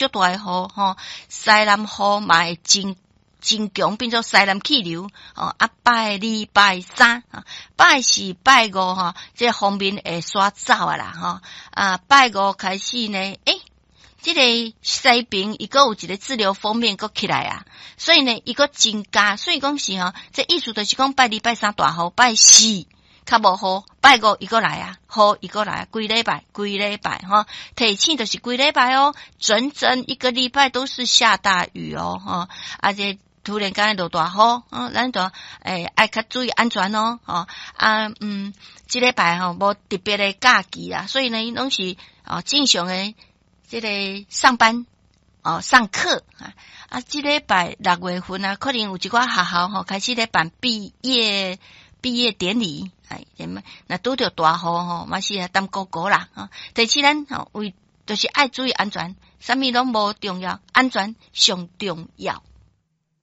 足大的雨吼，西南雨嘛會真真強，變做西南氣流哦。啊，拜二拜三，拜四拜五吼，這個鋒面會煞走啊啦吼。啊，拜五開始呢，這個西邊伊閣有一個滯留鋒面閣起來啊，所以呢，伊閣增加，所以講是吼，這意思就是講拜二拜三大雨，拜四較無雨，拜五伊閣來啊，雨伊閣來啊，規禮拜，規禮拜吼，提醒就是規禮拜哦，整整一個禮拜都是下大雨哦，吼，啊這突然間落大雨，哦，咱就愛較注意安全哦，吼啊這禮拜吼無特別的假期啊，所以呢，攏是哦正常的這個上班哦上課啊啊，這禮拜六月份啊，可能有一寡學校吼開始咧辦畢業典禮，哎，若拄著大雨吼，嘛是啊擔顧顧啦，吼。第七咱吼為就是愛注意安全，啥物攏無重要，安全上重要。